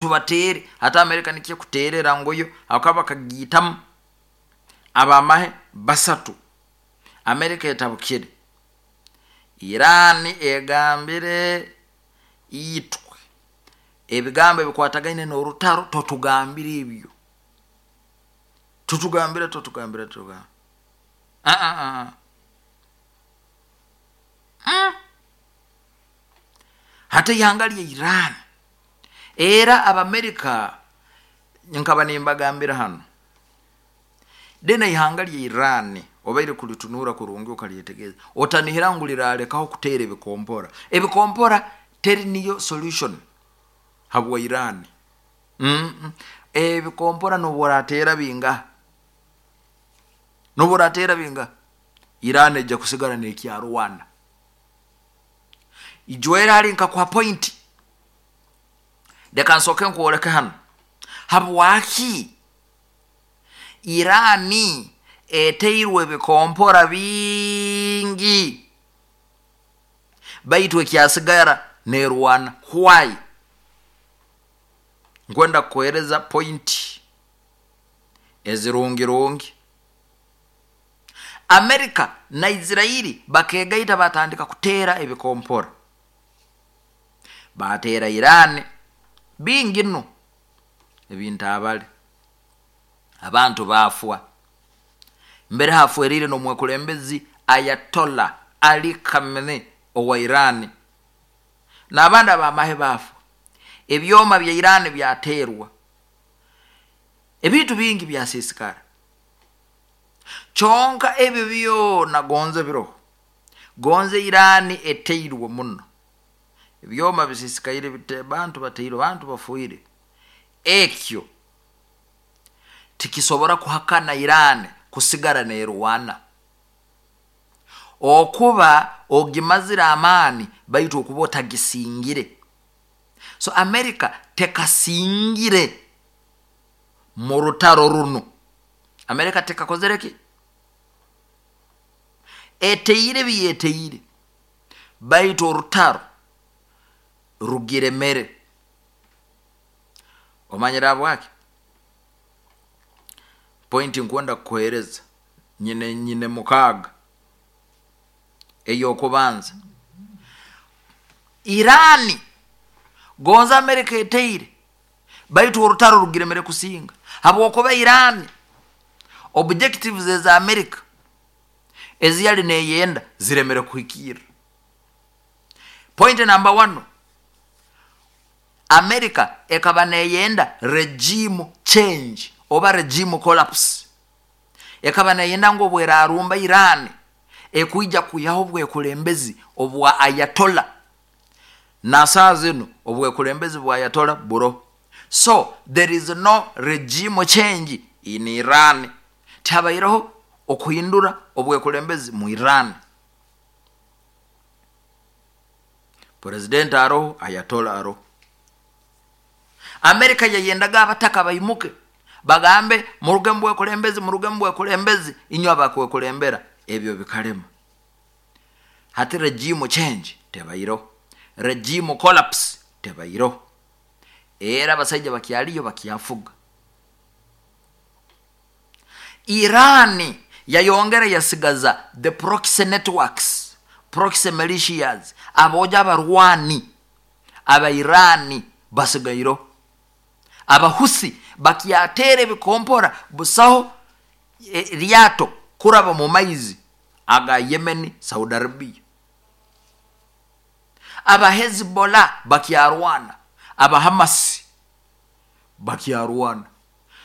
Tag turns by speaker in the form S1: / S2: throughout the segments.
S1: Tubateere. Hati Amerika nikyo ekuteerera ngu yo ahabw'okuba bakagiitamu abamahe basatu. Amerika etabukire. Iran egambire itwe ebigambo ebikwatagaine n'orutaro totugambire ebyo. Totugambire, totugambire, totugambire. Ah, ah. Hati eihanga lya Iran era Abamerika nkaba nimbagambira hanu then eihanga lya Iran obaire kuritunuura kurungi okaryetegereza otanihira ngu rirarekaho kuteera ebikompora. Ebikompora teri niyo solution habwa Iran. Mm ebikompora nobu orateera bingaha, nobu orateera bingaha, Iran eija kusigara nekyarwana. Ijwera hali nkakuha point. Leka nsooke nkwoleke hanu. Habwaki Iran eteirwe ebikompora bingi baitu ekyasigara nerwana? Why? Nkwenda kukuhereza point ezirungirungi. Amerika na Israiri bakegaita batandika kuteera ebikompora. Bateera Iran bingi nu ebintabale. Abantu baafwa. Mbere hafwerire n'omwekulembezi Ayatollah Ali Khamenei owa Iran n'abandi ab'amahe baafwa. Ebyoma bya Iran byateerwa. Ebintu bingi byasiisikara. Kyonka ebyo byona gonze biroho. Gonze Iran eteirwe muno. Ebyoma bisisikaire bite, bantu bateirwe, bantu bafuire. Ekyo tikisobora kuhakana Iran kusigara nerwana. Okuba ogimazire amaani baitu okuba otagisingire. So America tekasingire mu rutaro runu. America tekakozere ki? Eteire ebi yeteire baitu orutaro rugiremere. Omanyire habwaki? Pointi nkwenda kukuhereza nyine nyine mukaaga. Ey'okubanza, Iran gonza America eteire baitu orutaro rugiremere kusinga habwokuba Iran objectives eza America ezi yali neyenda ziremere kuhikirra. Point number one, America ekaba neyenda regime change oba regime collapse. Ekaba neyenda ngu obwerarumba Iran ekwija kwihaho obwekulembezi obwa Ayatollah. Nasaaha zinu obwekulembezi bwa Ayatollah buroho. So there is no regime change in Iran. Tihabaireho okuhindura obwekulembezi mu Iran. President aroho, Ayatollah aroho. America yayendaga abataka baimuke bagambe muruge mu bwekulembezi, muruge mu bwekulembezi, inywe abakwekulembera. Ebyo bikalema. Hati regime change tebaireho, regime collapse tebaireho. Era abasaija bakyaliyo bakyafuga. Iran yayongera yasigaza the proxy networks, proxy militias, aboojo abarwani aba Iran basigaireho. Abahusi bakyateera ebikompora busaho ryato kuraba mu maizi aga Yemen, Saudi Arabia. Aba Hezbollah bakyarwana, aba Hamas bakyarwana.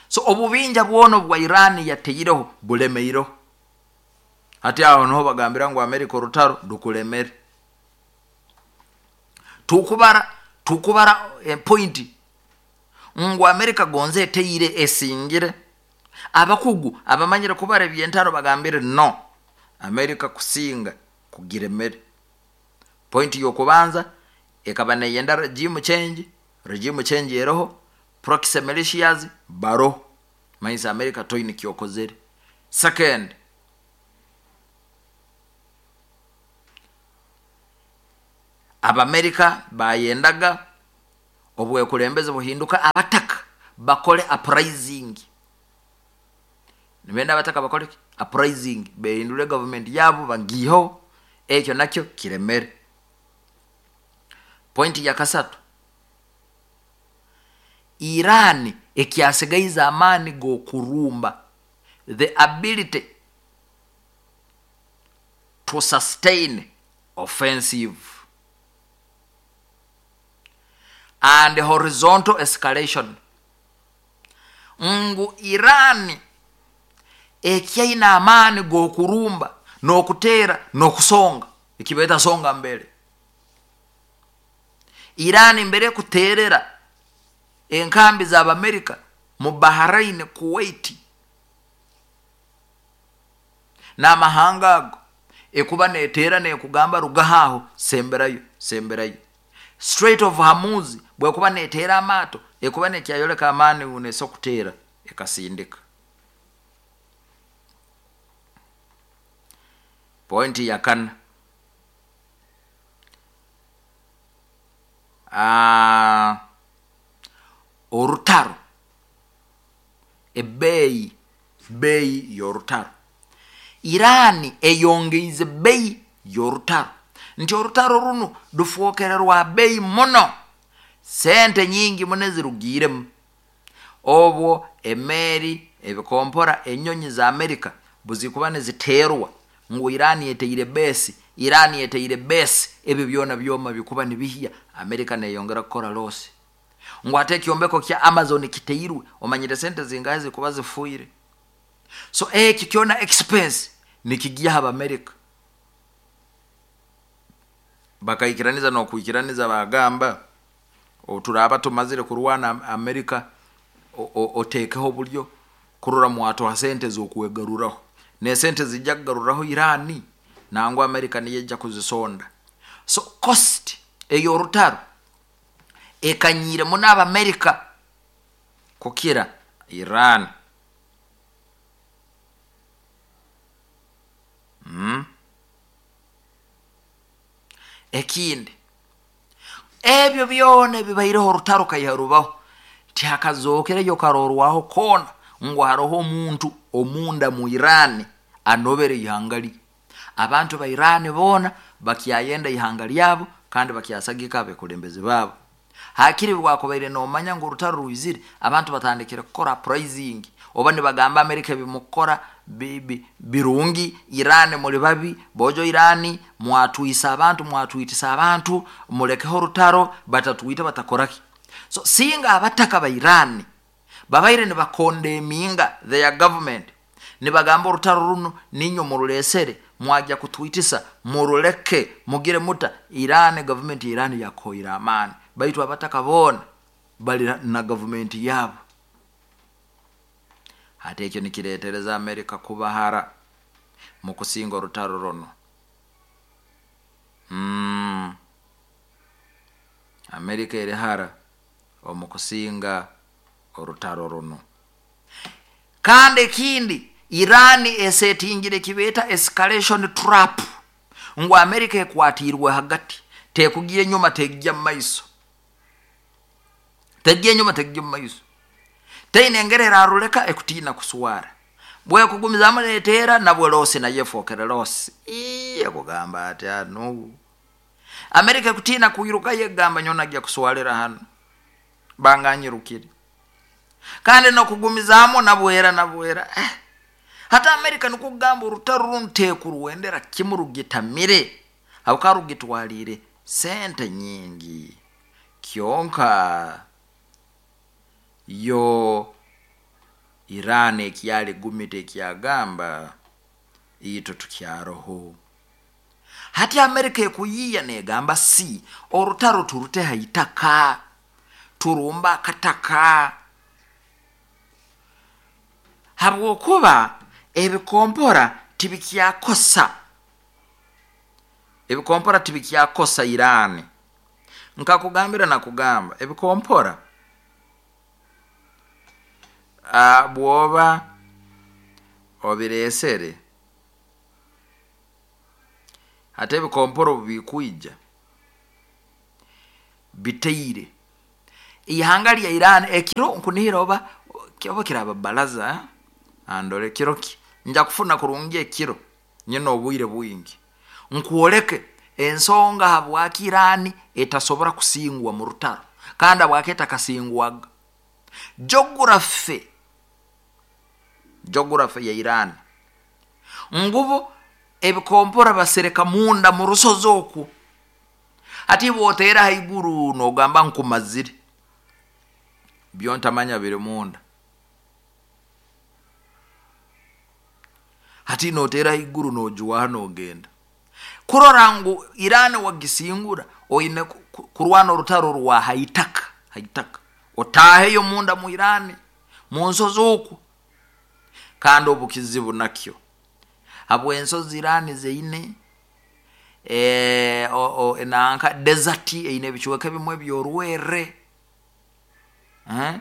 S1: So obubinja bwona obwa Iran yateireho bulemeireho. Hati aho niho bagambira ngu America orutaro rukulemere. Tukubara tukubara point ngu America gonza eteire esingire. Abakugu abamanyire kubara eby'entaro bagambire no, America kusinga kugiremere. Point y'okubanza ekaba neyenda regime change, regime change eroho, proxy militias baroho, manyisa America toine kyokozere. Second, Abamerika bayendaga Obwekulembeze buhinduka abataka bakole uprising. Nibenda abataka bakole ki? Uprising, behindure gavumenti yaabo bagiiheho, ekyo nakyo kiremere. Point ya kasatu, Iran ekyasigaize amaani g'okurumba, the ability to sustain offensive and horizontal escalation, ngu Iran ekyaine amaani g'okurumba n'okuteera n'okusonga, eki beeta songa mbere. Iran mbere ekuteerera enkambi z'Abamerika mu Bahrain, Kuwait n'amahanga ago, ekuba neeteera neekugamba rugaho aho, semberayo, semberayo. Strait of Hormuz bwekuba neeteera amaato, ekuba nekyayoleka amaani ngu neesobola kuteera ekasindika. Pointi ya kana, orutaro, ebeeyi, beeyi y'orutaro. Iran eyongeize beeyi y'orutaro nti orutaro runu rufwokere rwa beeyi muno, sente nyingi muno ezirugiiremu. Obwo emeeri, ebikompora, enyonyi za Amerika buzikuba niziteerwa ngu Iran eteire beesi, Iran eteire beesi, ebyo byona byoma bikuba nibihya, Amerika neyongera kukora loosi. Ngu hati ekyombeko kya Amazon kiteirwe, omanyire sente zingahi zikuba zifiire? So eki kyona expense nikigya aha Bamerika. Bakaikiraniza n'okwikiraniza baagamba, obu turaaba tumazire kurwana Amerika, oteekeho oburyo kurora mwatuha sente z'okwegaruraho. N'esente zija kugaruraho Iran, nangwa Amerika niyo ejja kuzisonda. So cost ey'orutaro ekanyiire muno Abamerika kukira Iran. Ekindi, ebyo byona ebibaireho orutaro kaiha rubaho, tihakazookereyo karorwaho koona ngu haroho omuntu omunda mu Iran anobere ihanga lye. Abantu ba Iran boona bakyayenda ihanga lyabo kandi bakyasagika abekulembezi baabo. Hakiri bwakubaire nomanya ngu orutaro rwizire, abantu batandikire kukora uprising oba nibagamba America ebimukukora birungi, Iran muri babi, bojo Iran mwatwisa abantu, mwatwitisa abantu, mulekeho orutaro, batatwita batakoraki. So singa abataka ba Iran babaire nibakondeminga their government, nibagamba orutaro runu niinywe muruleesere, mwagya kutwitisa, muruleke, mugire muta, Iran, gavumenti ya Iran yakuhoire amaani. Baitu abataka boona bali na gavumenti yaabo. Hati ekyo nikireetereza Amerika kuba hara mu kusinga orutaro runu. Mm. Amerika eri hara omu kusinga orutaro runu. Kandi ekindi, Iran esetingire eki beeta escalation trap ngu Amerika ekwatiirwe hagati, tekugya enyuma tegya mu maiso, tegya enyuma tegya omu maiso. Teine engeri eraruleka ekutiina kuswara. Bwekugumizaamu neteera nabwo loosi nayo efookere loosi. Ii ekugamba ati hanu Amerika ekutiina kwirukayo ekugamba nyowe nagya kuswalira hanu banganyirukire. Kandi n'okugumizaamu nabwera nabwera eh. Hati Amerika nikwo kugamba orutaro runu tekurwendera kimu rugitamire habwokuba rugitwaliire sente nyingi. Kyonka yo Iran ekyali gumite ekyagamba itwe tukyaroho. Hati Amerika ekuyiiya negamba si orutaro turute ha itaka. Turumbe akataka habwokuba ebikompora tibikyakosa, ebikompora tibikyakosa Iran. Nkakugambira nakugamba ebikompora bwoba obireesere hati ebikompora obu bikwija bitaire. Ihanga lya Iran ekiro nkunihira oba oba kiraba balaza andole kiro ki nja kufuna kurungi ekiro nyine obwire bwingi nkwoleke ensonga habwaki Iran etasobora kusingwa mu rutaro kandi habwaki etakasingwaga. Geography geography ya Iran ngubo ebikompora basereka munda mu rusozi okwo. Hati bw'oteera haiguru nogamba nkumazire byontamanya biri munda. Hati noteera haiguru nojwaha nogenda. Kurora ngu Iran wagisingura oine kurwana orutaro rwa haitaka haitaka otaaheyo munda mu Iran mu nsozi okwo. Kandi obukizibu nakyo habw'ensozi Iran zeine e, nanka desert eine ebicweka ebimwe ebyorwerre eh?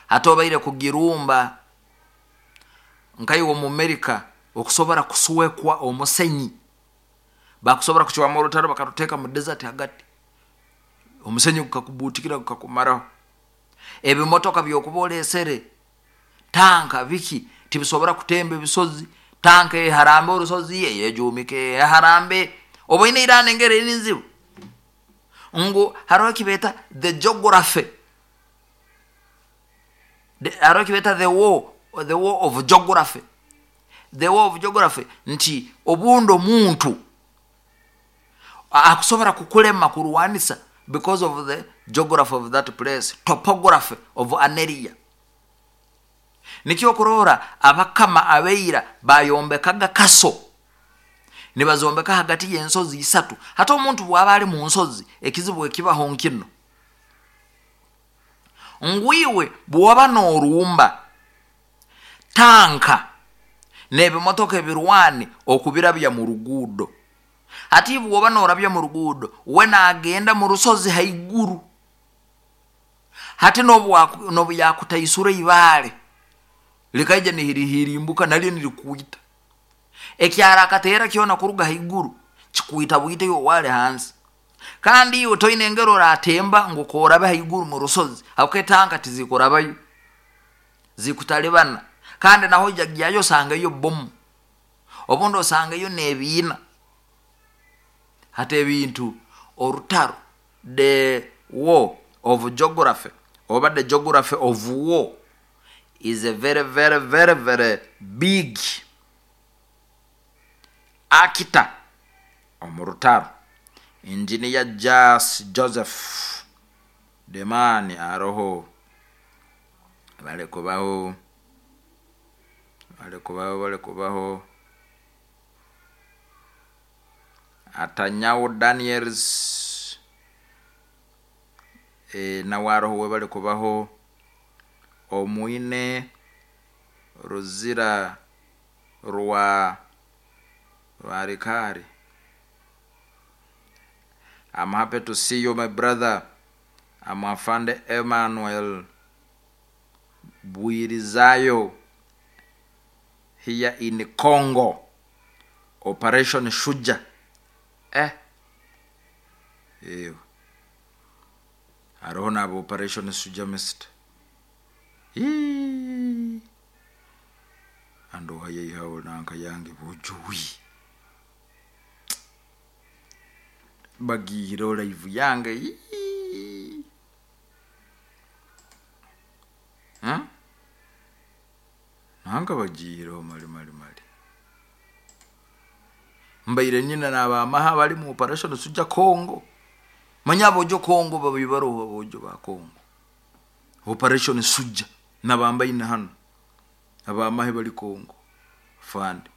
S1: Hati obaire kugirumba nkaiwe omu Amerika okusobora kuswekwa omusenyi bakusobora kucwamu orutaro bakaruteeka mu desert hagati omusenyi gukakubuutikira gukakumaraho. Ebimotoka byokuba olesere tanka biki tibisobora kutemba ebisozi tanka eharambe orusozi eyejumike eharambe oboine Iran engeri eri nzibu ngu haroho ekibeeta the geography haroho ekibeeta the war the war of geography the war of geography nti obundi omuntu akusobora kukulema kurwanisa because of the geography of that place, topography of an area. Nikyo okurora abakama abaira bayombekaga kaso nibazombeka hagati y'ensozi isatu. Hati omuntu bwaba ali mu nsozi ekizibu ekibaho nkino ngu iwe bwoba norumba tanka n'ebimotoka ebirwani okubirabya mu ruguudo. Hati bwoba norabya mu ruguudo we nagenda mu rusozi haiguru. Hati nobu yakutaisura ibaale likaija nirihirimbuka nalyo nirikuita. Ekyara akateera kyona kuruga haiguru kikuita bwite iwe wali hansi. Kandi iwe toine engeri oratemba ngu korabe haiguru mu rusozi habwokuba etanka tizikurabayo zikutalibana. Kandi naho ojagyayo osangayo bomu obundi osangayo n'ebiina. Hati ebintu orutaro the war of geography oba the geography of war is a very very very very big actor omu rutaro. Engineer Jas Joseph the man aroho balikubaho balikubaho balikubaho Atanyao Daniels e, nawe aroho we balikubaho Omwine Ruzira rwa Rwarikari. I'm happy to see you my brother. I'm Afande Emmanuel Bwirizayo here in Congo. Operation Shuja. Eh. Eyo. Haroho nabo Operation Shuja Mr. Hii. Andoha yeihawo nanka yange bujuwi. Bagihireho live yange. Hii. Huh? Nanka bagihireho mali mali mali. Mbaire nyina n'abamaha bali mu Operation Shuja Congo. Manya abojo Congo babibaroho abojo ba Congo. Operation Shuja nabambaine hano abamahe bali Congo. Fande.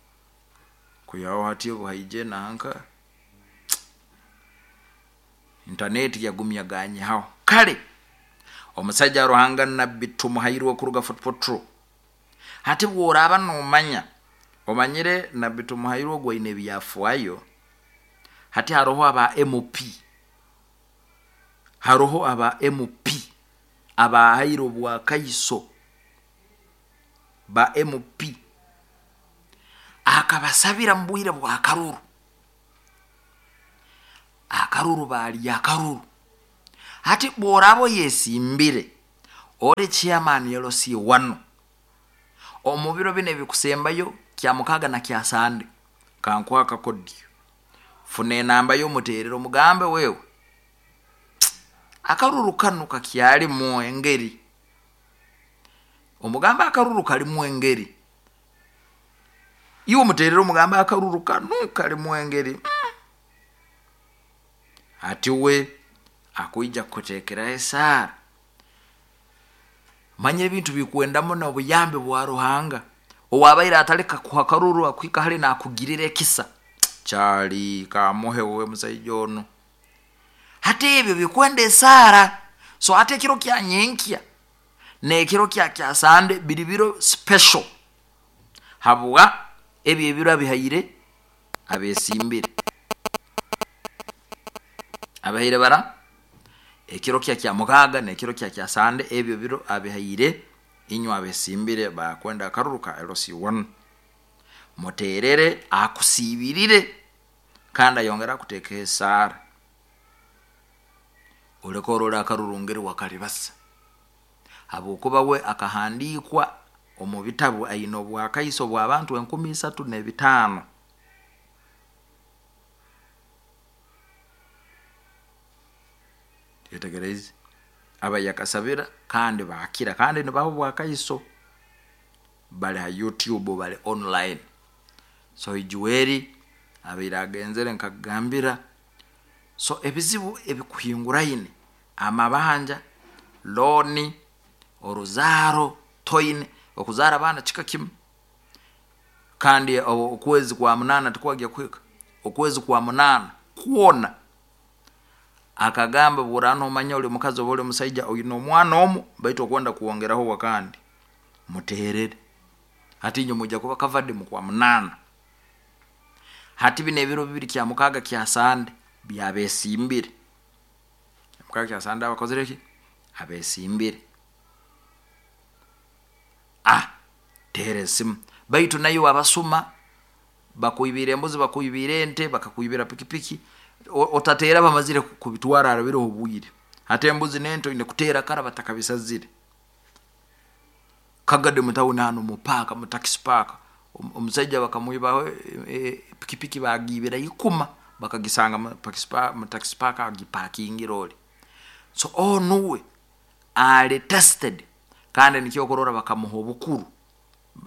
S1: Kuyaho hati obuhaije nanka internet yagumyaganye haho. Kale omusajja Ruhanga Nabbi Tumuhairwe kuruga Fort Portal. Hati bworaba nomanya omanyire Nabbi Tumuhairwe gwaine ebyafaayo. Hati haroho aba MP. Haroho aba MP abahaire obwakaiso ba MP akabasabira mu bwire bwa karuru. Akaruru bali akaruru. Hati bw'oraaba oyesimbire ori chairman LC wanu omu biro binu ebikusembayo Kyamukaaga na Kyasande, kankuhe akakodyo, funa enamba ye omuteerere omugambe wewe akaruru kanu kakyarimu engeri, omugambe akaruru karimu engeri, iwe omuteerere omugambe akaruru kanu karimu engeri, hati we akwija kukuteekeraho esaara. Manya ebintu bikwenda muno obuyambi bwa Ruhanga. Owabaire atari kakuha karuru akuhika hare nakugirira ekisa. Kyari kamuhe we musaija onu. Hati ebyo bikwenda esaara. So hati ekiro kya nyenkya n'ekiro kya kyasande biri biro special habwa ebyo ebiro abihaire abesimbire. Abihaire bara ekiro kya Kyamukaaga n'ekiro kya Kyasande, ebyo biro abihaire inywe abesimbire baakwenda akaruru ka LC1. Muteerere akusiibirire kandi ayongere akuteekeho esaara. Oleke orole akaruru ngeri wakaribasa habwokuba we akahandiikwa omu bitabu aine obwakaiso bw'abantu 3,500. Twetegereize? Abayakasabira kandi baakira kandi nibaha obwakaiso bari ha YouTube bari online. So Juweri abaire agenzere nkakugambira so ebizibu ebikuhinguraine amabanja, looni, oruzaaro toine, okuzaara abaana kika kimu kandi okwezi kwa munaana tikwagya kuhika, okwezi kwa munaana kwona akagamba bw'oraaba noomanya ori mukazi oba ori musaija oine omwana omu baitu okwenda kwongeraho owakandi muteerere. Hati inywe mwija kuba covered mu kwa munaana. Hati binu ebiro bibiri Kyamukaaga Kyasande byabesimbire. Kyamukaaga Kyasande abakozire ki? Abesimbire. Ah teera esimu. Baitu naiwe abasuma bakwibiire embuzi, bakwibiire ente, bakakwibira pikipiki, otateera bamazire kubitwara harabireho obwire. Hati embuzi n'ente oine kuteera kara batakabisazire. Kagadi mu tawuni hanu mu paaka, mu takisi paaka, omusaija bakamwibaho pikipiki baagiibira ikuma bakagisanga mu takisi paaka agipakingire ori. So onu uwe ali tested kandi nikyo okurora bakamuha obukuru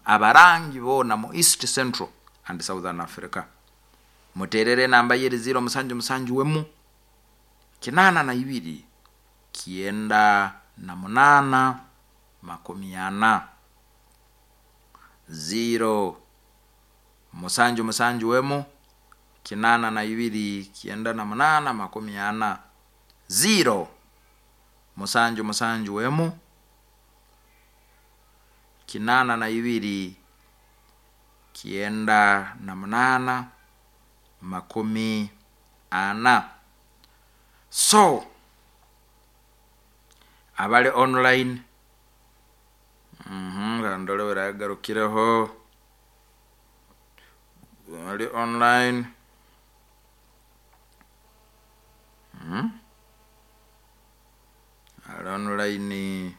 S1: abarangi boona mu East Central and Southern Africa. Muteerere enamba ye eri ziiro musanju musanju emu, 82, 98, 40. Ziiro musanju musanju emu, 82, 98, 40. Ziiro musanju musanju emu, 82, 98, 40. So, abali online, kandore weragarukireho, abali online, ali online,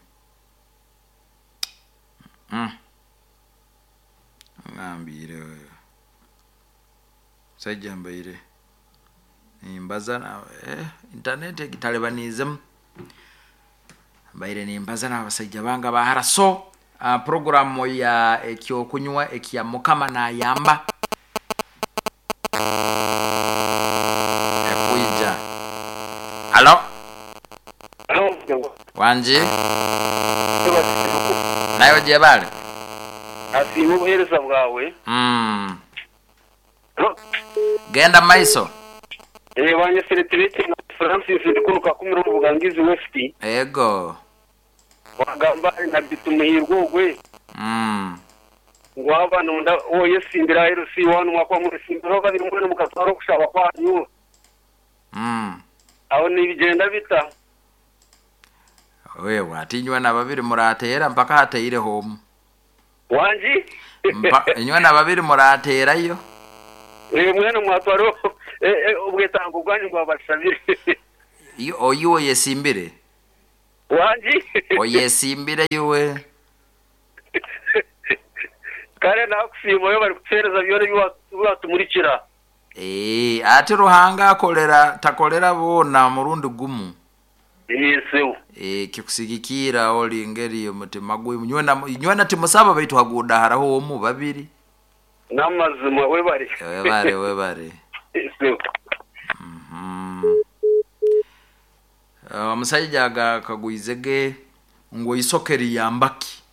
S1: ngambiire omusaija mbaire nimbaza internet egi etalibaniizemu, mbaire nimbaza n'abasaija bange aba hara. So puroguramu ya ekyokunywa ekya Mukama nayamba ekwija. Halo, wangi? Naiwe gyebale.
S2: Asiime obuheereza bwawe.
S1: Genda mu maiso.
S2: Banyesire Tibetena Francis ndi kunu Kakumiro omu Bugangizi West.
S1: Ego.
S2: Wagamba ahari Nabbi Tumuhiirwe ogwe ngu waaba nonda woyesimbira aha LC one mwakuba mwesimbiraho babiri mwena mukatwara okushaba kwanyu. Aho nibigyenda bita?
S1: Wewe ati inywe na babiri murateera mpaka hateireho omu.
S2: Wangi?
S1: Inywe na babiri murateerayo.
S2: Mwena mwatwara obwetango bwanyu ngu abashabire.
S1: Iwe oyesimbire?
S2: Wangi?
S1: Oyesimbire iwe?
S2: Kare nakusiima webare kutuhereza byona ebi watumurikira.
S1: Eeh ati Ruhanga akorera takorera boona murundi gumu.
S2: Eeh sebo.
S1: Eeh kikusigikiira ori ngeri omutima gwe nywena nywena timusaba baitu haguuda haraho omu babiri.
S2: Namazima webare.
S1: Webare webare.
S2: Eeh sebo.
S1: Omusaija akagwize ge ngu eisoke riyamba ki?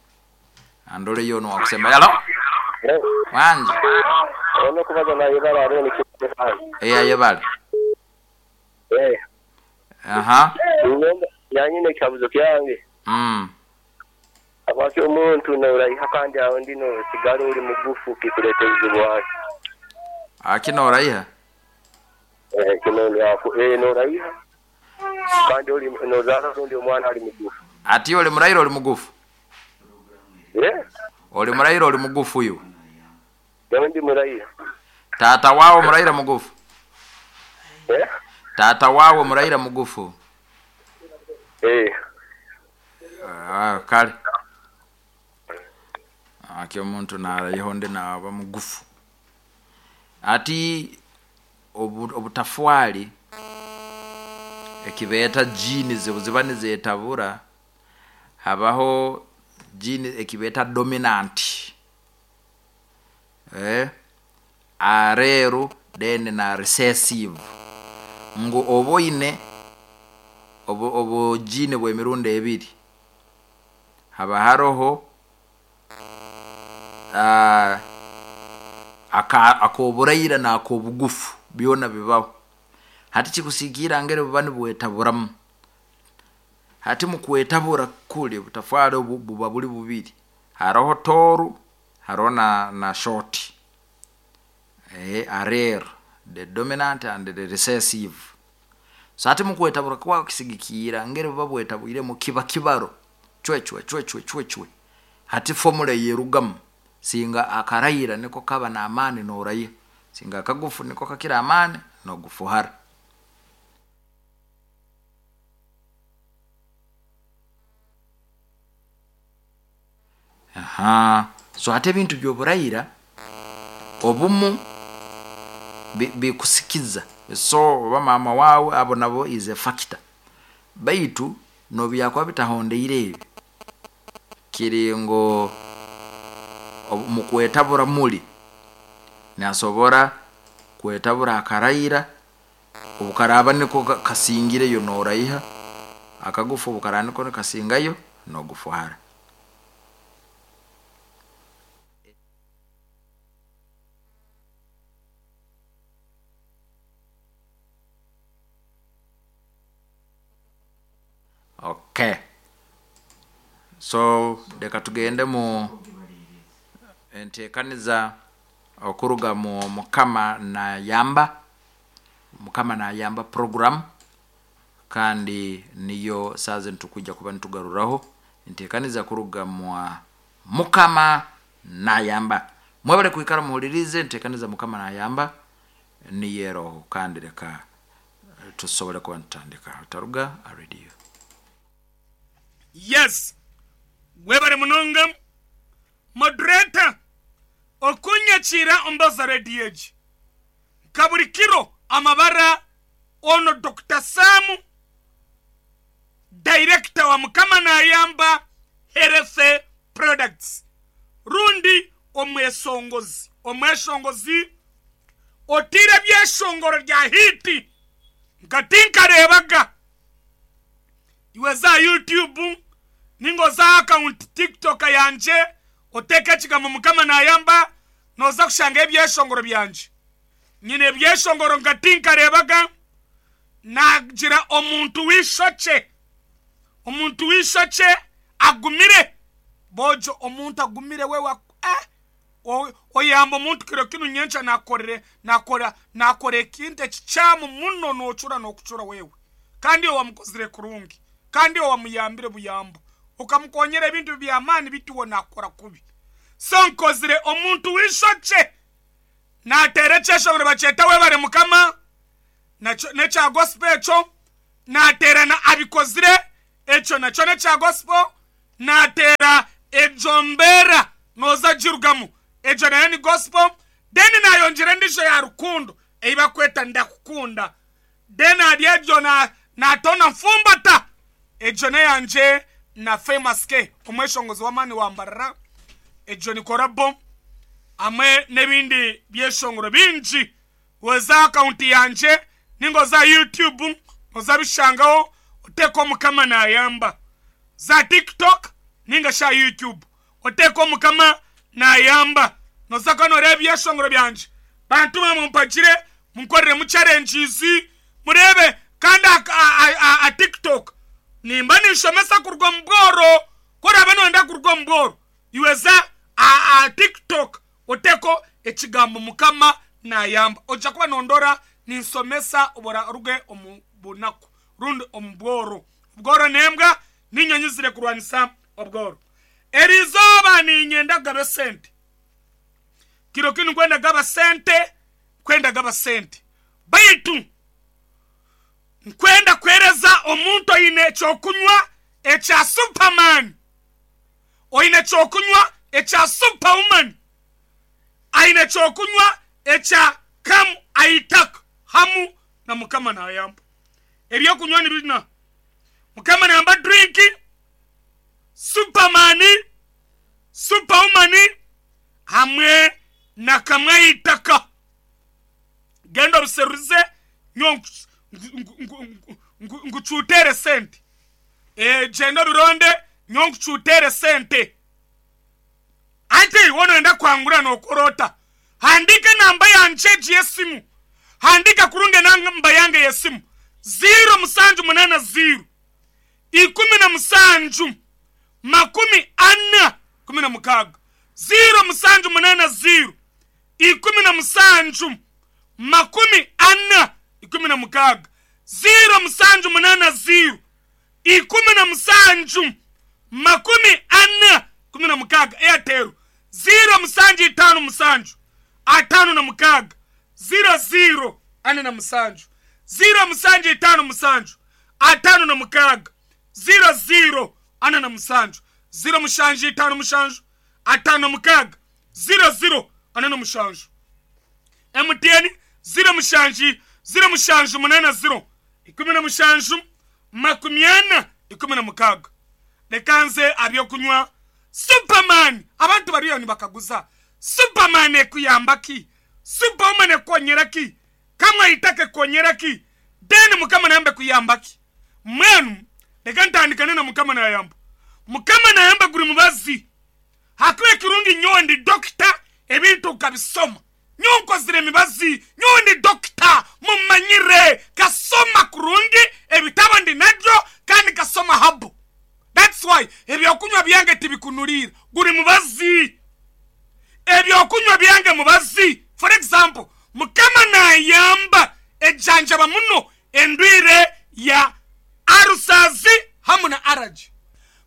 S1: Andore yo nowakusembayo. Halo? Wangi?
S3: Ono okubaza nayebare Aaron Kihanga.
S1: Eh ayebare.
S3: Eh.
S1: Aha.
S3: Nyomba yanyine ekikaguzo kyange. Habwaki omuntu noraiha kandi aho ndi nosigara ori mugufu kikuleta obuzibu bwaki?
S1: Aki noraiha?
S3: Eh, kino eh, noraiha kandi ori nozaara rundi omwana ari mugufu.
S1: Ati oli muraire oli mugufu?
S3: Eh?
S1: Oli muraire oli mugufu iwe?
S3: Nyowe ndi muraire.
S1: Taata waawe muraire mugufu?
S3: Eh?
S1: Taata waawe muraire mugufu?
S3: Eh.
S1: Ah, kale. Aki omuntu naraiha ondi naba mugufu. Ati obutafwali ekibeeta genes obuziba nizetabura habaho gene ekibeeta dominant eh, areeru then na recessive ngu oba oine obu obu gene bw'emirundi ebiri haba haroho ak'oburaira n'ak'obugufu byona bibaho. Hati kikusiikiira ngeri buba nibwetaburamu. Hati mukwetabura kuli obutafaali obu buba buli bubiri, haroho tooru haroho na na short. Allele, the dominant and the recessive. So hati mukwetabura kwago kisigikiira ngeri buba bwetabwiremu kiba kibaro cwe cwe cwe cwe cwe cwe. Hati formula eyerugamu singa akaraira niko kaba n'amaani noraiha, singa akagufu niko kakira amaani nogufuhara. Aha, so hati ebintu by'oburaira obumu bikusikiza so oba maama waawe abo nabo is a factor baitu nobyakuba bitahondeire ebi kiri ngu mukwetabura muri nasobora kwetabura akaraira obukaraaba niko kasingireyo noraiha akagufu obukaraaba niko nikasingayo nogufuhara. Okay. So leka tugende mu entekaniza okuruga mu Mukama Nayamba, Mukama Nayamba program kandi niyo saaha zinu tukwija kuba nitugaruraho entekaniza kuruga mwa Mukama Nayamba. Mwebale kwikara muhulirize entekaniza Mukama Nayamba niyo eroho kandi leka tusobole kuba nitutandika. Otaruga aha radio.
S4: Yes webare munonga moderator okunyakiira ombaza radio egi nka buri kiro amabara ono Dokita Sam director wa Mukama Nayamba Health Products rundi omwesongozi omweshongozi otiire ebyeshongoro rya hiiti nka tinkareebaga. Iwe za YouTube ninga oze aha akawunti TikTok yangye oteeke ekigambo Mukama Nayamba nooza kushangayo ebyeshongoro byangye. Nyine ebyeshongoro nka tinkareebaga naagira omuntu w'eishokye, omuntu w'eishokye agumire, boojo omuntu agumire we eh Oyamba omuntu kiro kinu nyenkya nakukorere nakora nakora ekintu ekikyamu muno nocura nokucura wewe kandi iwe wamukozire kurungi kandi iwe wamuyambire buyambo okamukonyera ebintu byamani bitu iwe nakukora kubi so nkozire omuntu wishokye natera ekyeshongoro nibakyeta webare mukama nakyo nekya gospel ekyo. Naateera na Abikozire, ekyo nakyo n'ekya gospel. Naateera Egyo Mbeera Nooza Girugamu, egyo nayo ni gospel. Then naayongyera endiijo ya rukundo ei barikweta Ndakukunda. Then ahari egyo naatoona Nfumbata, egyo n'eyangye na Famous K omweshongozi w'amaani wa Mbarara. Egyo ni korabo hamwe n'ebindi byeshongoro bingi. Oze aha akawunti yangye ninga oze aha YouTube oze abishangaho otekeho Mukama Nayamba. Za TikTok ninga shi aha YouTube otekeho Mukama Nayamba. Noza kuba noreeba ebyeshongoro byangye. Bantu mwe mumpagire munkoreremu challenges mureebe kandi aha TikTok nimba ninshomesa kuruga omu bworo. Ku oraabe noyenda kuruga omu bworo iwe za aha TikTok Oteko ekigambo Mukama nayamba. Oija kuba nondora ninsomesa obu oraruge omu bunaku rundi omu bworo. Obworo n'embwa ninyo nyizire kurwanisa obworo. Erizooba ninyenda kugaba esente. Kiro kinu nkwenda kugaba sente, nkwenda kugaba sente. Baitu nkwenda kuhereza omuntu oine ekyokunywa ekya Superman. Oine ekyokunywa ekya Superwoman, aine ekyokunywa ekya Come Aitaka hamu na Mukama Nayamba. Ebyokunywa ni bina, Mukama Nayamba drink, Superman, Superwoman hamwe na Kamwe Aitaka. Genda obiserurize nyowe nkucuuteere sente. Gyenda obironde nyowe nkucuuteere sente. Hati waaba nooyenda kwangura nookora ota? Handiika enamba yangye egi y'esimu. Handiika kurungi enamba yange y'esimu, ziiro mushanju munaana ziiro, 17, 40, 16. 0780, 17, 40, 16. 0780, 17, 40, 16. Airtel, 0757, 56, 00, 47. 0757, 56, 00, 47. 0757, 56, 00, 47. MTN, 07, 07 80, 17, 40, 16. Reka nze aha by'okunywa Superman. Abantu bariyo nibakaguza, Superman ekuyamba ki? Superwoman ekukonyera ki? Kamwe eitaka ekukonyera ki? Then Mukama Nayamba ekuyamba ki? Mbwenu reka ntandikane na Mukama Nayamba. Mukama Nayamba guri mubazi. Ahakuba ekirungi nyowe ndi dokita ebintu nkabisoma. Nyowe nkozire emibazi, nyowe ndi dokita, mumanyire, nkasoma kurungi, ebitabo ndi nabyo kandi nkasoma herbal. That's why ebyokunywa byange tibikunuriira, guri mubazi. Ebyokunywa byange mubazi. For example, Mukama nayamba ejanjaba muno endwire ya arusazi hamu na araje.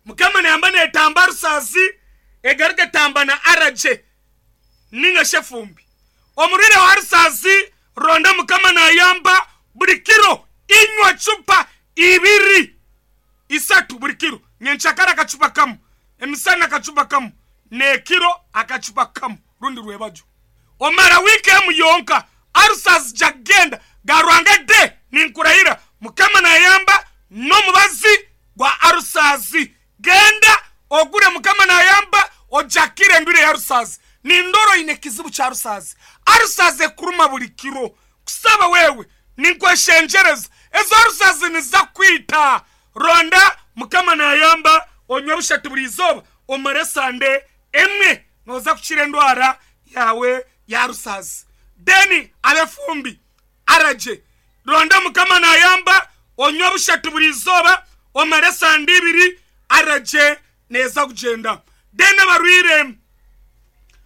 S4: Mukama nayamba netamba arusazi egaruka etamba na araje ninga shi efumbi. Omurwaire wa arusazi ronda Mukama nayamba buri kiro inywa cupa ibiri isatu buri kiro. Nyenkyakare akacupa kamu, emisana akacupa kamu, n'ekiro akacupa kamu rundi rwebagyo. Omara wiiki emu yonka arusazi jagenda garwanga de ninkurahira Mukama nayamba n'omubazi gwa arusazi. Genda ogure Mukama nayamba ojakire endwire ya arusazi. Nindora oine ekizibu kya arusazi. Arusazi ekuruma buri kiro. Kusaba wewe ninkweshengyereza ezo arusazi niza kukwita. Ronda Mukama nayamba onywe bushatu buri izooba omare esande emwe noza kukira endwara yaawe ya arusazi. Then ab'efumbi aragye. Ronda Mukama nayamba onywe bushatu buri izooba omare esande ibiri aragye neeza kugyenda. Then abarwaire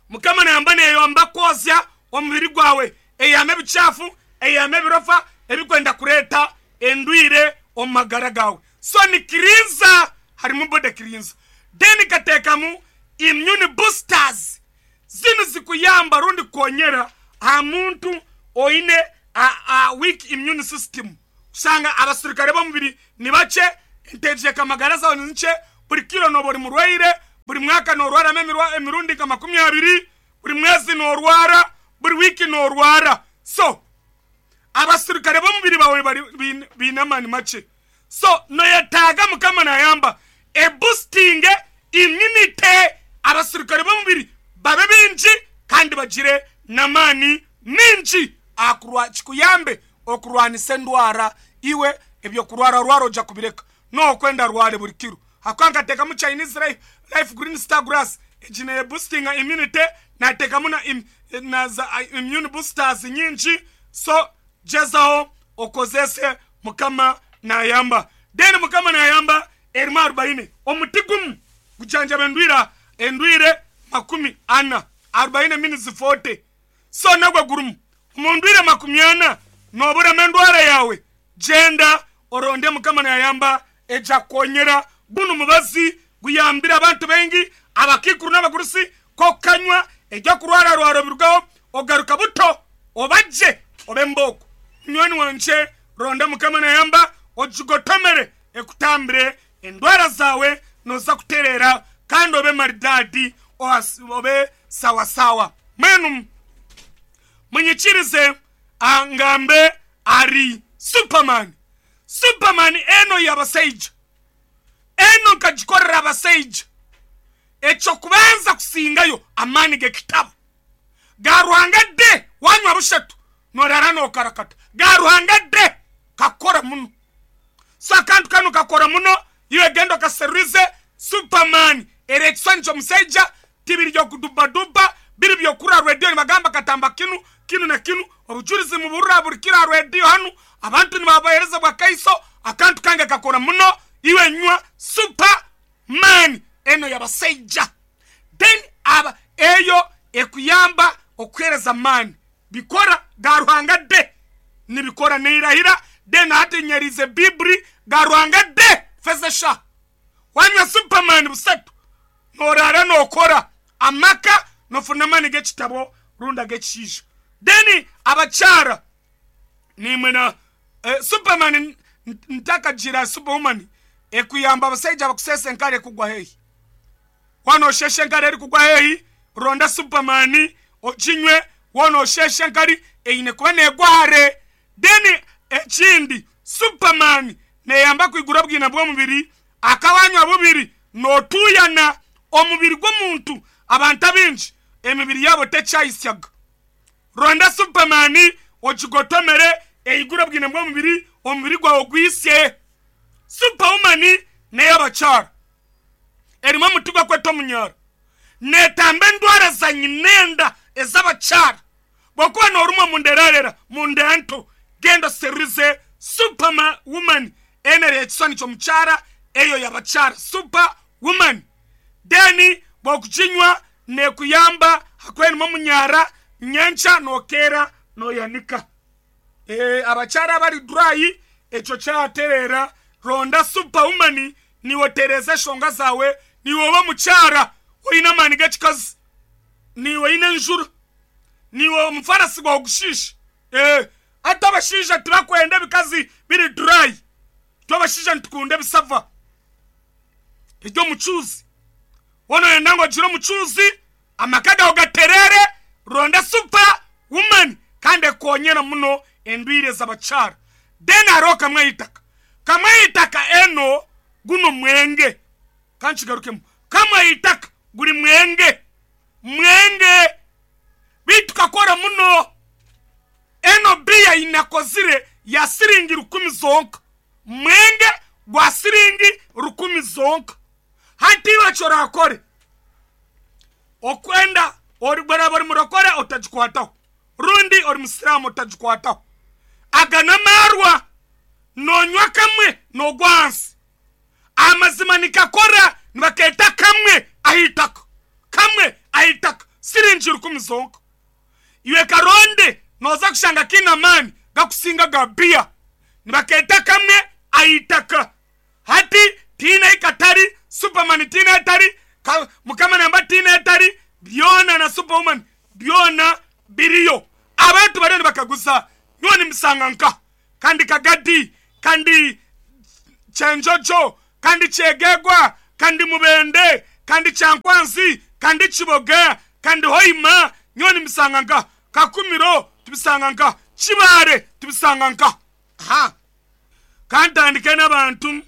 S4: Mukama nayamba neyamba kwozya omubiri gwawe eyihame ebikyafu, eyihame ebirofa ebikwenda kureeta endwire omu magara gaawe. So ni kirinza harimu body kirinza. Then kateekamu immune boosters zinu zikuyamba rundi kukonyera aha muntu oine a weak immune system. Kushanga abasirikare b'omubiri ni bakye, enteegyekamagara zaawe ni nkye, buri kiro nooba ori murwaire, buri mwaka noorwaramu emirundi nka 20, buri mwezi noorwara, buri wiiki noorwara. So, abasirikare b'omubiri baawe baine amaani makye. So, noyetaaga Mukama naayamba ebusitinge immunity, abasirikare b'omubiri babe baingi kandi bagire n'amaani maingi aha kikuyambe okurwanisa endwara iwe ebyokurwararwara oja kubireka nokwenda arware buri kiro ahakuba nkatekamu Chinese life green star grass egi ne boostinga immunity natekamu na na za immune boosters nyingi so gyezaho okozese mukama nayamba then mukama nayamba erimu arubaine omuti gumu gujanjaba endwira endwire 40 arubaine means 40 So nagwo gurimu. Omu ndwire 40 noburemu endwara yaawe, gyenda oronde Mukama nayamba eja kukonyera. Gunu mubazi guyambire abantu baingi, abakaikuru n'abagurusi, k'okukanywa eby'okurwararwara obirugaho ogaruka buto oba gye obe embooko. Munywani wangye ronda Mukama nayamba ogigotomere ekutambire endwara zaawe noza kutereera kandi obe maridadi obe sawasawa. Mbwenu munyikirize ngambe ahari Superman. Superman eno y'abasaija. Eno nkagikorera abasaija. Eky'okubanza kusingayo amaani g'ekitabo. Ga Ruhanga de wanywa bushatu norara nokarakata. Ga Ruhanga de kakora muno. So akantu kanu kakora muno iwe genda okaserurize Superman eri ekiswani ky'omusaija tibiri by'okudubaduba biri by'okurra rwediyo nibagamba katamba kinu kinu na kinu obujurizi muburra buri kiro aha rwediyo hanu abantu nibabahereza bwakaiso akantu kange kakora muno iwe nywa Super man eno y'abasaija then aba eyo ekuyamba okuhereza amaani Bikora ga Ruhanga de nibikora neirahira de na hati nyerize biburi ga Ruhanga de fezesha wanywa superman busatu norara nokora amaka nofuna amani gekitabo rundi agekishaija then abakyara nimwe na superman ntakagira superwoman ekuyamba abasaija abakusesa enkari ekugwa haihi. Waaba noosheesha enkari erikugwa haihi, ronda Superman oginywe. Waaba noosheesha enkari, eine kuba neegwa hare. Then ekindi, Superman neeyamba kwigura obwina bw'omubiri. Aka waanywa bubiri, nootuuyana. Omubiri gw'omuntu, abantu abaingi emibiri yaabo tekyayitsyaga. Ronda Superman ogigotomere, eigure obwina bw'omubiri, omubiri gwawe gwitsye. Superwoman n'ey'abakyara. Erimu omuti gw'okweta omunyoro. Neetamba endwara za nyinenda ez'abakyara. Bw'okuba noorumwa omu nda erarera, mu nda nto, genda oserurize Super Woman enu eri ekiswani ky'omukyara, eyo y'abakyara, Super Woman. Then bw'okuginywa neekuyamba ahakuba erimu omunyara, nyenkya nookeera nooyanika. Abakyara abari dry ekyo kyatereera, ronda Super Woman Niiwe otereeza enshonga zaawe, niiwe oba omukyara oine amaani g'ekikazi, niiwe oine enjura, niiwe omufarasi gwawe gushiisha. Ee, hati abashaija tibakwenda ebikazi biri dry, itwe abashaija nitukunda ebisava eby'omucuuzi. Waaba nooyenda ngu ogire omucuuzi, amaka gaawe gatereere, ronda super woman kandi ekonyera muno endwire z'abakyara. Then hariho kamwe ah'eitaka. Kamwe ah'eitaka eno guno mwenge. Ka nkigarukemu. Kamwe ah'eitaka guri mwenge. Mwenge. Beitu kakora muno. Eno biya ei nakozire ya siringi rukumi zonka. Mwenge gwa siringi rukumi zonka. Hati iwe eki oraakore, okwenda oraaba ori murokore otagikwataho, rundi ori musiraamu otagikwataho. Aga n'amaarwa, noonywa kamwe noogwa ahansi. Amazima nikakora nibakeeta kamwe aha itaka, kamwe aha itaka, siringi rukumi zonka. Iwe karonde nooza kushanga kaine amaani gakusinga aga biya. Nibakeeta kamwe aha itaka. Hati tihaine ahi katari, Superman tihaine ahi atari, Mukama namba tihaine ahi atari, byona na Superwoman byona biriyo. Abantu bariyo nibakaguza, nyowe nimbisanga nkaha? Kandi kagadi? Kandi Kyenjojo, kandi Kyegegwa, kandi Mubende, kandi Kyankwanzi, kandi Kiboga, kandi Hoima, nyowe nimbisanga nkaha. Kakumiro tubisanga nkaha. Kibaare tubisanga nkaha. Aha. Ka ntandike n'abantu,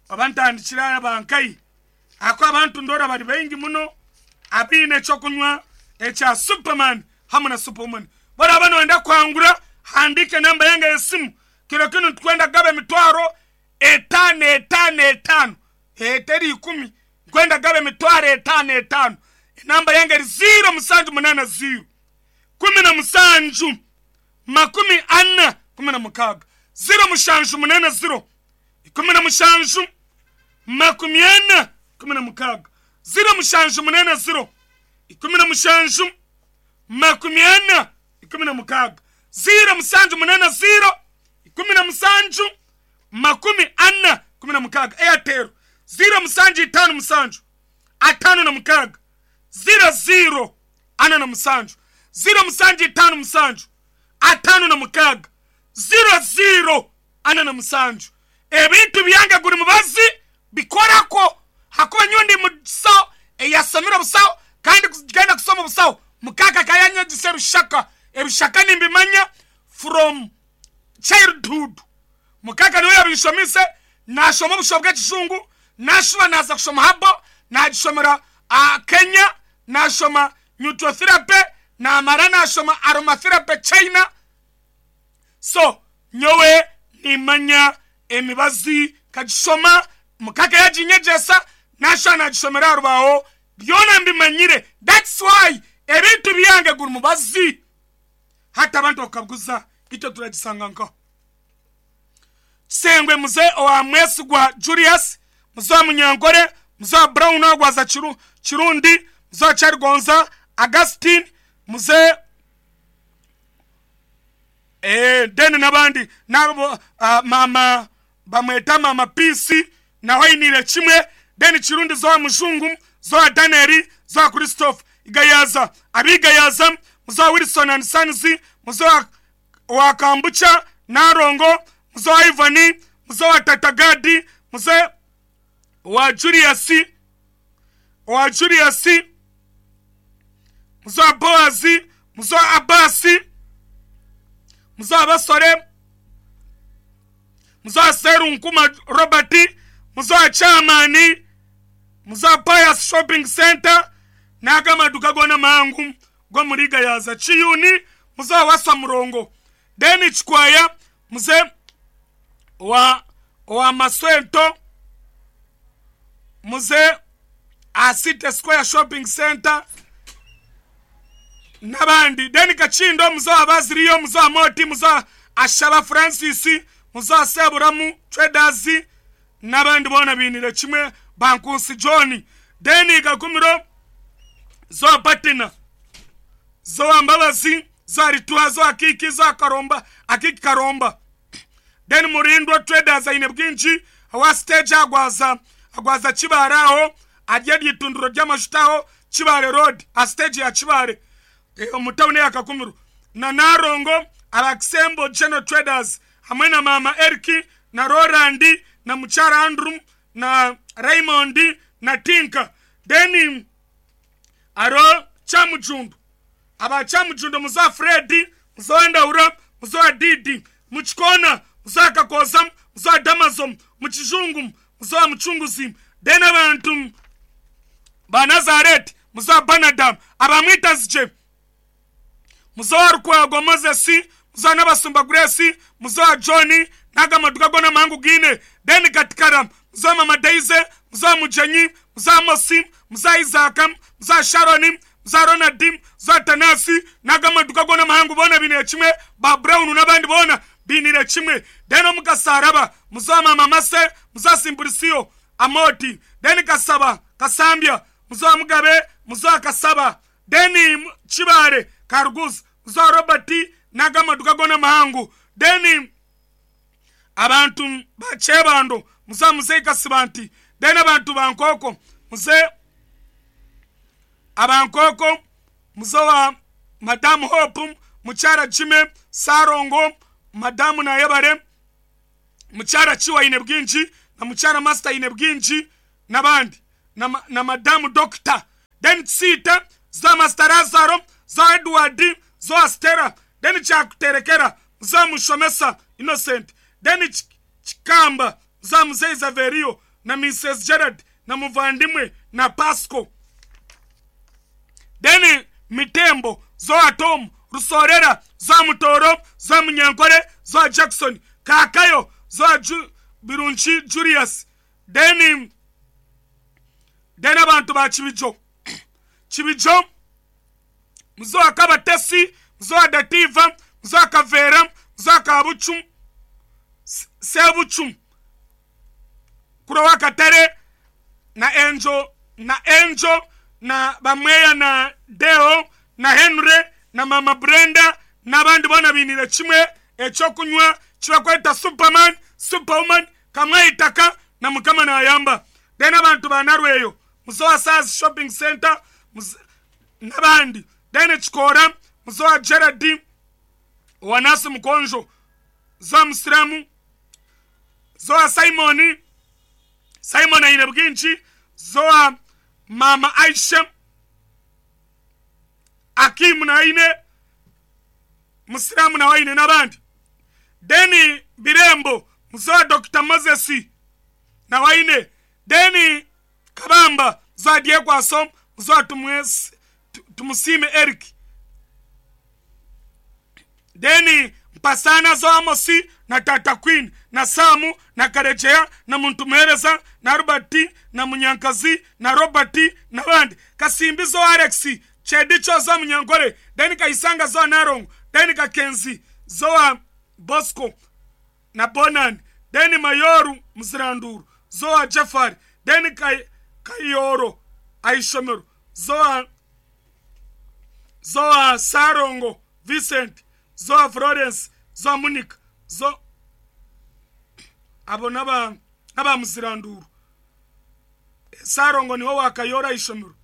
S4: oba ntandikire aba nkahi? Ahakuba abantu ndoora bari baingi muno abaine eky'okunywa ekya Superman hamwe na Superwoman. Ku oraabe nooyenda kuhangura, handiika enamba yange y'esimu. Kiro kinu nitukwenda kugaba emitwaro etaano etaano etaano. Eteri ikumi. Nkwenda kugaba emitwaro etaano etaano. Enamba yange eri ziiro mushanju munaana ziiro, 17, 40, 16. 0780, 17, 40, 16. 0780, 17, 40, 16. 0780, 17, 40, 16. Airtel, 0757, 56, 00, 47. 0757, 56, 00, 47. Ebintu byange guri mubazi bikorako ahakuba nyowe ndi musaho eyasomire obusaho kandi kugenda kushoma obusaho mukaka akaba yanyegyesa ebishaka. Ebishaka nimbimanya from childhood. Mukaka niwe yabinshomise, nashoma obushaho bw'ekijungu, nashuba naza kushoma herbal, nagishomera Kenya, nashoma nutrotherapy, namara nashoma aromatherapy China. So nyowe nimanya emibazi nkagishoma, mukaka yaginyegyesa, nashuba nagishomera aha rubaho, byona mbimanyire. That's why ebintu byange guri mubazi. Hati abantu bakabuguza itwe turagisanga nkaha? Kisengwe muze owa Mwesigwa Julius, muze owa Munyankore, muze owa Brown Agwaza Kirundi, muze owa Kyarigonza Augustine, muze then n'abandi n'abo maama bamweta maama Peace nawe ainiire kimwe, then Kirundi zowa Mujungu, zowa Daniel, zowa Christophe Igayaza, ab'Igayaza, muze owa Wilson and Sons, muze owa Kambucha Narongo, muze owa Ivan, muze owa Tata Gadi, muze owa Julius, owa Julius, muze owa Boazi, muze owa Abasi, muze owa Basore, muze owa Serunkuma Robert, muze owa Chairman, muze owa Pius Shopping Centre, n'ago amaduka goona mahango g'omuri Gayaza. Kiyuni, muze owa Waswa Murongo. Then Kikwaya, muze owa owa Maswento, muze aha City Square Shopping Centre n'abandi. Then Kakindo, muze owa Baziriyo, muze owa Moti, muze owa Ashaba Francis, muze owa Seburamu Traders n'abandi boona bainire kimwe ba Nkunsi John. Then Kakumiro, zowa Patina, zowa Mbabazi, zowa Rituha, zowa Akiiki, zowa Karomba, Akiiki Karomba. Then Murindwa Traders aine bwingi owa stage agwaza agwaza Kibaare aho ari eryo itundiro ry'amajuta aho Kibaare road aha stage ya Kibaare omu town eya Kakumiro. Na Narongo aba Kisembo General Traders hamwe na maama Eric na Roland na mukyara Andrew na Raymond na Tinka. Then hariho Kyamujundu Aba Kyamujundu muze owa Fred, muze owa Ndahura, muze owa Didi, mu Kikoona, muze owa Kakooza, muze owa Damazo, mu Kijungu, muze owa Mucunguzi, then abantu ba Nazareeti, muze owa Banada, aba Mwitazigye, muze owa Rukwago Moses, muze owa Nabasumba Grace, muze owa John, n'ago amaduka goona amahango gaine, then Katikara, muze owa Mama Daisy, muze owa Mugyenyi, muze owa Amosi, muze owa Isaaka, muze owa Sharon, za Ronald, za Tanasi, n'ago amaduka goona amahango boona bainiire kimwe, ba Brown n'abandi boona bainiire kimwe. Then omu Kasaraba, muza Maama Mase, muza Simpulisio, Amoti, then Kasaba, Kasambya, muza Mugabe, muza Kasaba, then Kibaare, Karuguza, muza Robert, n'ago amaduka goona amahango. Then abantu ba Kyebando, muza Muzei Kasibanti, then abantu ba Nkooko, muze Aba Nkooko, muze owa Madamu Hope, Mukyara Jimmy, Ssalongo, Madamu Nayebare, Mukyara Kiwa aine bwingi na mukyara Master aine bwingi n'abandi na, na madamu Doctor. Then Kisiita, Zoa Master Lazaro, Zoa Edward, Zoa Stella, then Kyakuterekera, Zoa Mushomesa Innocent, then Kikamba, Zoa Muzei Zaverio na Mrs Gerald na Muvandimwe na Pasco. Then Mitembo, Zoa Tom, Rusorera, Zoa Mutoro, Zoa Munyankore, Zoa Jackson, Kaakayo, Zoa Ju, Birungi Julius, then then abantu ba Kibijo. Kibijo, Muzoa Kabatesi, Muzoa Dativa, Muzoa Kaveera, Muzoa Kabucu, Sebucu, Kurowa Katare, na Angel, na Angel, na Bamweya na Deo, na Henry, na Mama Brenda, n'abandi boona bainiire kimwe eky'okunywa kibakweta Superman, Superwoman, Kamweitaka, na Mukama naayamba. Then abantu ba Narweyo, Muzoa Sars Shopping Centre, n'abandi. Then Kikoora, Muzoa Gerald, owa Nasi Mukonjo, Zoa Musiramu, Zoa Simon, Simon aine bwingi, Zoa Mama Aisha, Akimu naine, Musiramu nawe aine n'abandi. Then Birembo, Muzoa Dr. Moses nawe aine. Then Kabamba, Muzoa Dyekwaso, Muzoa Tumusiime Eric. Then Mpasana Zoa Amosi na Tata Queen na Samu na Karegeya na Muntumuhereza na Albert na Munyankazi na Robert n'abandi. Kasimbi Zoa Alex, Chedicho Zoa Munyankore, then Kaisanga Zoa Narongo, then Kakenzi Zoa Bosco na Bonan, then Mayoru Muziranduru Zoa Jafari, then Kayoro Aishomero Zoa Zoa Sarongo Vincent, Zoa Florence, Zoa Monique, Zoa abo naba naba Muziranduru. Sarongo niwe wa Kayora Aishomero.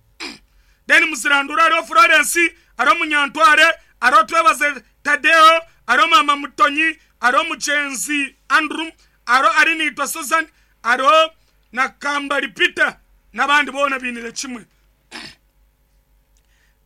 S4: Then Muziranduru ariho Florence, ariho Munyantware, ariho Twebaze Tadeo, ariho Mama Mutonyi, ariho Mugyenzi Andrew, ariho Arinitwa Susan, ariho na Kambali Peter n'abandi boona bainire kimwe.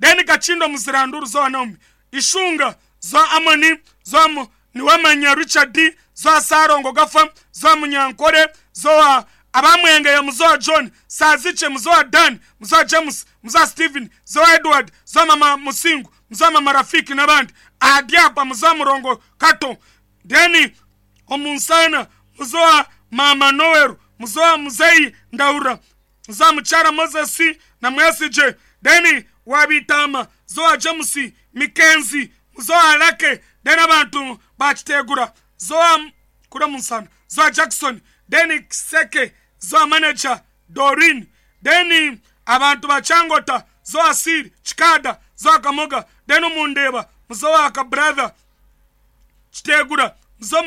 S4: Then Kachindo Muziranduru Zoa Naomi, Ishunga Zoa Amoni, Zoa Niwamanya Richard, Zoa Sarongo Gafa, Zoa Munyankore, Zoa Abamwenge ya Muzoa John, Saziche Muzoa Dan, Muzoa James, Muzoa Steven, Zoa Edward, Zoa Mama Musingu, Muzoa Mama Rafiki n'abandi. Adiapa Muzoa Murongo Kato, Then Omunsana, Muzoa Mama Noel, Muzoa Muzei Ndaura, Muzoa Muchara Moses na Mwesije, Then Wabitama, Zoa James, Mikenzi, Muzoa Alake, Then abantu bakitegura, Zoa Kura Munsana, Zoa Jackson, Then Seke, Zoa Manager, Doreen, Then abantu bachangota, Zoa Siri, Chikada, Zoa Kamoga, Then Omundeba, Muzoa Kabrother, Kitegura, Muzoa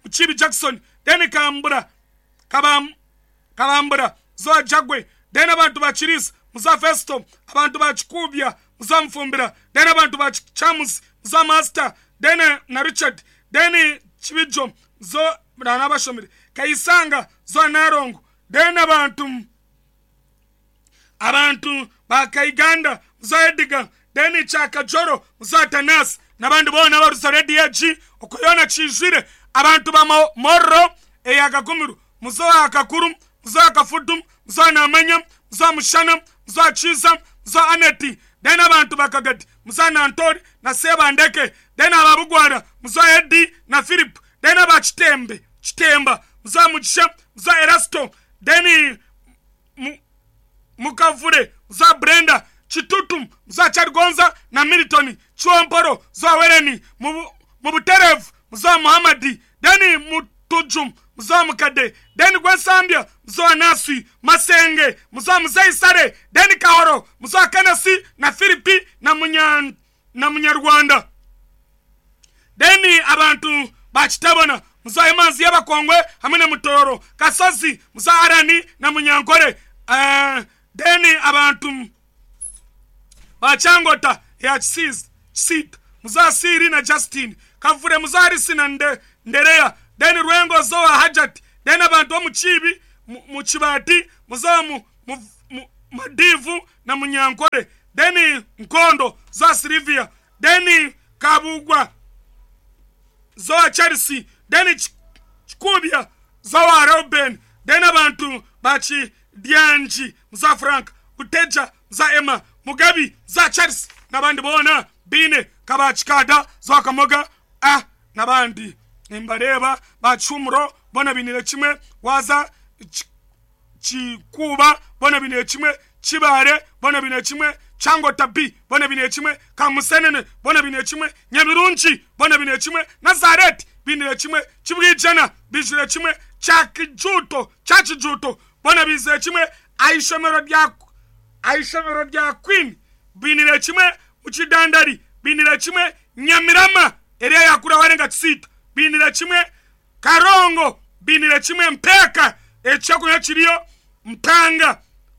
S4: Muchibi Jackson, Then Kambura, Kabambura, Zoa Jagwe, Then abantu bachirisa, Muzoa Festo, abantu bachikubya, Muzoa Mfumbira, Then abantu bachamus, Muzoa Master, Then na Richard, Then Chibijo, Zoa Ranabashomire, Kaisanga, Zoa Narongo, Then abantu bakaiganda, Muzoa Edgar, Then Chakajoro, Muzoa Tanas, n'abandi boona baruza Radio G, okuyona kijwire, abantu ba Moro, eyakakumiru, Muzoa Akakuru, Muzoa Akafudu, Muzoa Namanya, Muzoa Mushana, Muzoa Chiza, Muzoa Aneti, Then abantu bakagati, Muzoa Nantori, na Sebandeke, Then ababugwara, Muzoa Edi, na Philip, Then abachitembe, Chitemba, Muzoa Mugisha, Muzoa Erasto, Then Mukavure, Muzoa Brenda, Chitutu, Muzoa Charigonza, na Milton, Chiwamporo, Muzoa Wereni, Mubuterevu, Muzoa Muhammadi, Then Mutujum, Muzoa Mukade, Then Gwesambia, Muzoa Nasi, Masenge, Muzoa Muzei Sare, Then Kahoro, Muzoa Kenesi, na Philipi, na Munyarwanda. Then abantu bakitabona, Muzoa Imanzi y'Abakongwe, hamwe na Mutoro, Kasozi, Muzoa Arani, na Munyankore. Then abantu bachangota ya Chisita, Muzoa Siri na Justin, Kavure Muzoa Harisi na Nderea, Then Rwengo zo owa Hajati. Then abantu b'omu Kiibi, mu Kibaati, muze owa Madiivu na Munyankore. Then Nkondo zo owa Sylvia. Then Kabuugwa zo owa Charles. Then Kikuubya zo owa Reuben. Then abantu ba Kidyangi muze owa Frank. Buteja muze owa Emma. Mugabi muze owa Charles n'abandi boona baine nka ba Kikaada zo owa Kamoga a n'abandi. Nimbareeba ba Kihumuro boona bainiire kimwe waaza Kikuuba boona bainiire kimwe, Kibaare boona bainiire kimwe, Kyangota B boona bainiire kimwe, Kamusenene boona bainiire kimwe, Nyabirungi boona bainiire kimwe, Nazareeti bainiire kimwe, Kibwijana baijwire kimwe, Kyakijuuto Kyakijuuto boona baizire kimwe, aha ishomero rya aha ishomero rya Queen bainiire kimwe, Mukidandari bainiire kimwe, Nyamirama eriya yakuraho arenga Kisiita bainiire kimwe, Karongo bainiire kimwe Mpeeka ekyokunywa kiriyo Mpanga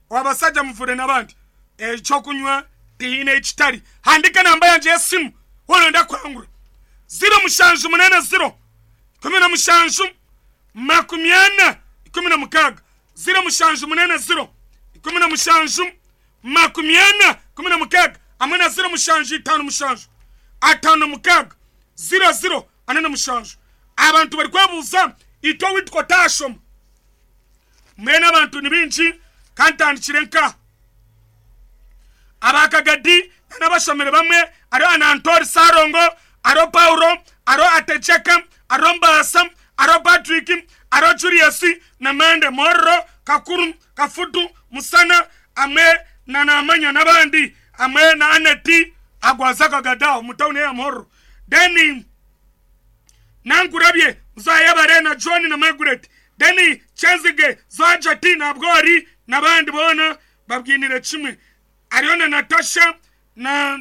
S4: Wabasaja Muvure n'abandi ekyokunywa tihaine ekitari. Handika enamba yangye y'esimu waaba noyenda kuhangura 0780 17 40 16 0780 17 40 16 hamwe na 0757 56 00 47. Abantu barikwebuuza itwe ou tukotashoma. Mbwenu abantu ni baingi ka ntandikire nka aba Kagadi n'abashomire bamwe hariho Anantori Sarongo, hariho Paulo, hariho Ategyeka, hariho Mbaasa, hariho Patrick, hariho Julius na Mande Mororo, Kakuru, Kafutu, Musana hamwe na Namanya n'abandi hamwe na Aneti agwaza Kagadi aho omu tawuni eya Muhororo. Then Nankurabye, Nzayebare na John na Margaret, Danny, Kyenzige, Zajati na Bwori n'abandi boona babwinire kimwe. Hariho na Natasha na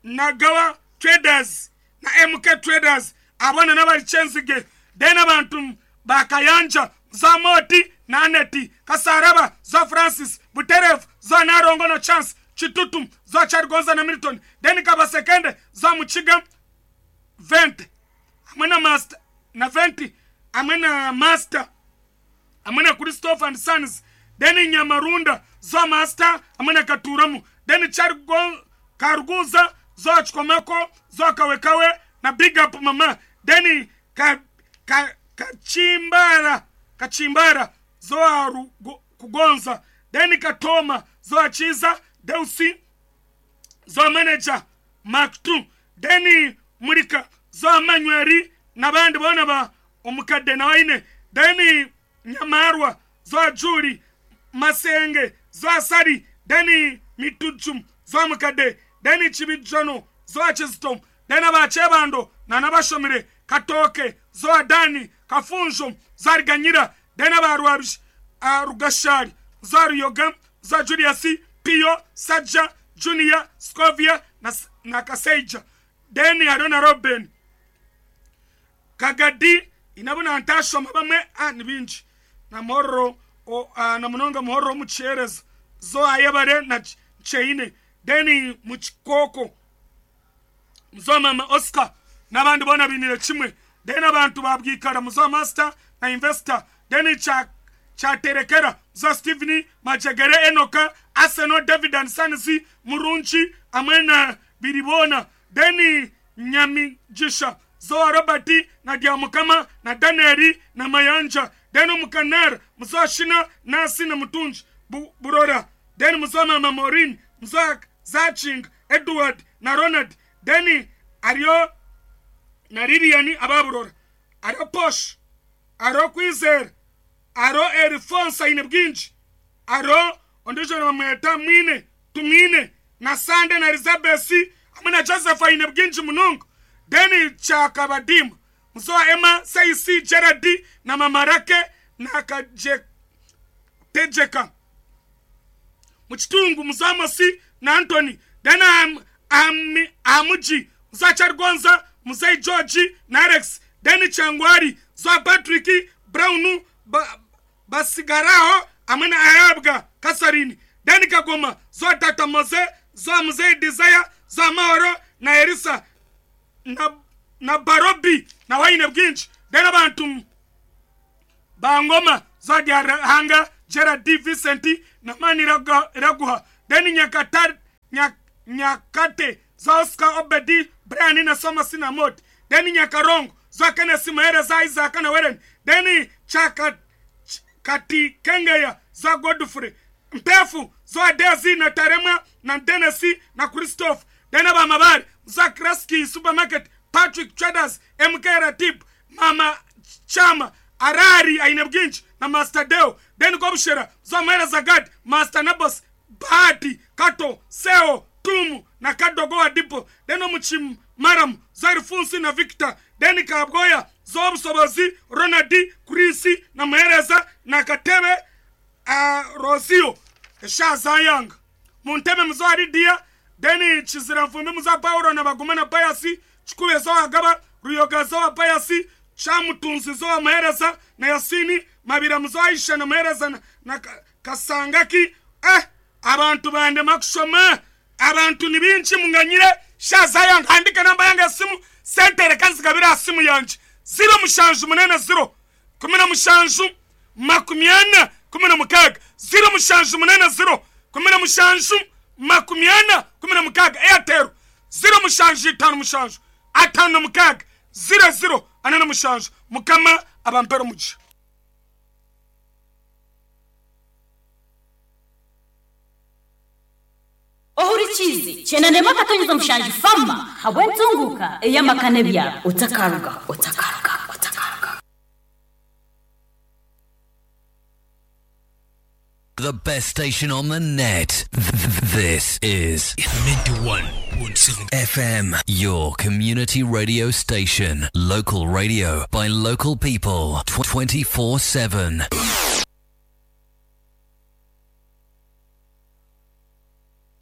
S4: Nagawa Traders na MK Traders abo boona n'abari Kyenzige. Then abantu ba Kayanja, Zamoti na Aneti, Kasaraba, Zo Francis, Buterevu, Zo Narongo na Chance, Kitutu, Zo Kyarigonza na Milton, then Kabasekende, Zo Mukiga, 20 hamwe na Master na 20 hamwe na Master hamwe na Christopher and Sons then Nyamarunda zo Master hamwe na Katuramu then Chargo Karuguza zo Kikomeko zo Kawekawe na Big Up Mama then ka ka Kachimbara Kachimbara zo Kugonza then Katoma zo Kiiza Deusi zo Manager Mark 2 then Murika zo Manyweri n'abandi boona ba Omukadde nawe aine then Nyamarwa zo Julie Masenge zo Asari then Mituju zo Mukadde then Kibijono zo Kizito then aba Kyebando na n'abashomire Katooke zo Dani Kafunjo zo Ariganyira then aba Rwabish Rugashari zo Ruyoga zo Julius Piyo Sajja Junior Scovia na, na Kaseija then hariho na Roben Kagadi inabo nantashoma bamwe ah, ni bingi na Muhororo o, ah, na munonga Muhororo omukihereza zo Ayebare na Kyeine then mukikooko muzo mama Oscar n'abandi boona bainire kimwe then abantu ba Bwikara muzo Master na Investor then kya Kyaterekera muzo Steven Majegere Enoka Arsenal David and Sons Murungi hamwe na Biriboona then Nyamigisha Zoa Robert na Dyamukama na Daniel na Mayanja then Omukanara muzo Shina Nasi na Mutungi Burora then muzo Mama Maureen muzo Zakinga Edward na Ronald then hariyo na Lilian aba Burora hariho Posh hariho Kwizera hariho Erifonso aine bwingi hariho ondiijo nibamweta Mwine Tumwine na Sande na Elizabeth hamwe na Joseph aine bwingi munonga then Kyakabadiima muzo wa Emma Seisi Gerald na Mamarake na Kajetegyeka Mukitungu muzo Amosi na Antony then aha Mugi muzo Kyarigonza Muzei George na Alex then Kyangwari muzo Patrick Brown Basigaraho hamwe na Ahabwa Catherine then Kagoma zo Tata Moze zo Muzei Desire zo Amahoro na Elisa na, na Barobi na Waine Bwingi Then abantu ba Ngoma za Ruhanga Gerald Vincent na Maniraguha. Then Nyakate za Oscar Obedi Brian na Somasi na Mot. Then Nyakarongo za Kenneth Muhereza Isaac na Weren. Then Kati Kengeya za Godfrey Mpefu za Desi na Tarema na Denesi na Christophe. Then Abamabari za Kraski Supermarket Patrick Traders MK Ratib Mama Chama Arari Aine Bwinshi na Master Deo. Then Gobushera za Muhereza Gad Master Nabos Bahati Kato Seo Tumu na Kadogo wa Dipo. Then Omuchim Maram za Alfonsi na Victor. Then Kabgoya za Obusobozi Ronald Chris na Muhereza na Katebe Rosio Shazayang Munteme mzwari dia. Then Chizira Mfumbi mza Paulo na Baguma na Payasi Chikube za Agaba Ruyoga za Payasi Chamutunzi za Muhereza na Yasini Mabira mza Aisha na Muhereza na Kasangaki. Abantu bande makushoma abantu ni binshi munganyire. Shazayang andika namba yange ya simu sentere kanzi kabira simu yanje 0 mushanju munene 0 17 40 16 0 mushanju munene 0 17 40 16 Airtel 0 mushanju 5 mushanju 5 6 0 0 4 mushanju. Mukama abampero muji.
S5: Ohurichizi chenande makatonyeza mushanju fama habwentunguka eyamakane bya otakaruga otakaruga otakaruga.
S6: The best station on the net. This is
S7: 91.7
S6: FM, your community radio station. Local radio by local people 24/7.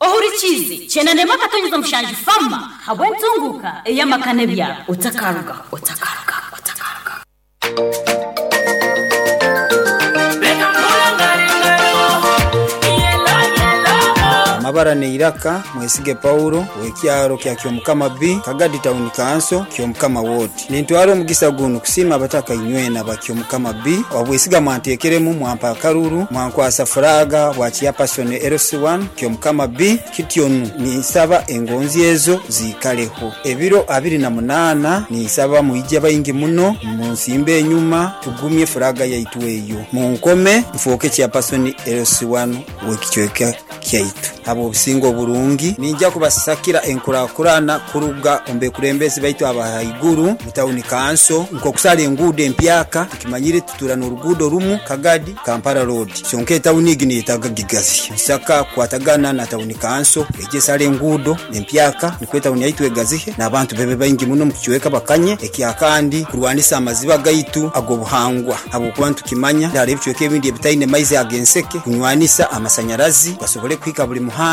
S5: Ohurichizi chenande makatonyeza mushanju fama habwentunguka eyamakane bya otakaruga otakaruga otakaruga.
S8: Amabara ne iraka mwesige Paulo wekyaro kya Kyomukama B Kagadi Town Council Kyomukama Ward. Nintwaro omugisa guno kusima abataka inywena ba Kyomukama B obwesiga mwantekeremu mwampa karuru mwankwasa furaga bwa person LC1 Kyomukama B kityonu nisaba engonzi ezo zikaleho ebiro 28 nisaba muije bayingi muno munsimbe enyuma tugumye furaga yaitu eyo munkome mfoke kya person LC1 wekichweka kyaitu abo obusingo burungi ninja kubasakira enkurakurana kuruga ombe kurembezi baitu abahaiguru mutawuni kanso nko kusala enguudo empyaka tukimanyire tutura n'oruguudo rumu Kagadi Kampala Road kyonka etawuni egi niyetaaga gigazi nsaka kwatagana na tawuni kanso eje sala enguudo empyaka nikwo etawuni yaitu egazihe n'abantu bebe baingi muno mukichweka bakanye ekyakandi kurwanisa amaziba gaitu ag'obuhangwa habwokuba ntukimanya hariho ebichweka ebindi ebitaine maizi ag'enseke kunywanisa amasanyarazi basobole kuhika buli muhanda.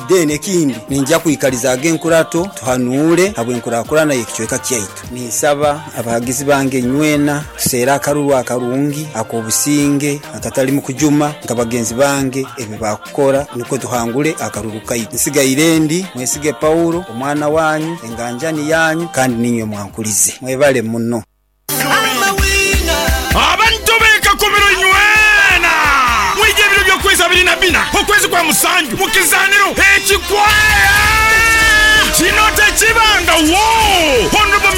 S8: Then ekindi ninja kuikaliza agenkurato tuhanure habwenkurakurana yekichweka kyaitu. Nisaba abahagizi bange nywena tusera akaruru akarungi akobusinge akatali mu kujuma nkabagenzi bange ebi bakukora niko tuhangule akaruru kaitu. Nsigaire ndi mwesige Paulo omwana wanyu enganjani yanyu kandi ninywe mwankulize mwebale muno.
S7: Abantu beka kumiro nywena mwije ebiro by'okwezi 24 okwezi kwa musanju mukizaniro ekikwaya kino tekibanga wo. Honorable.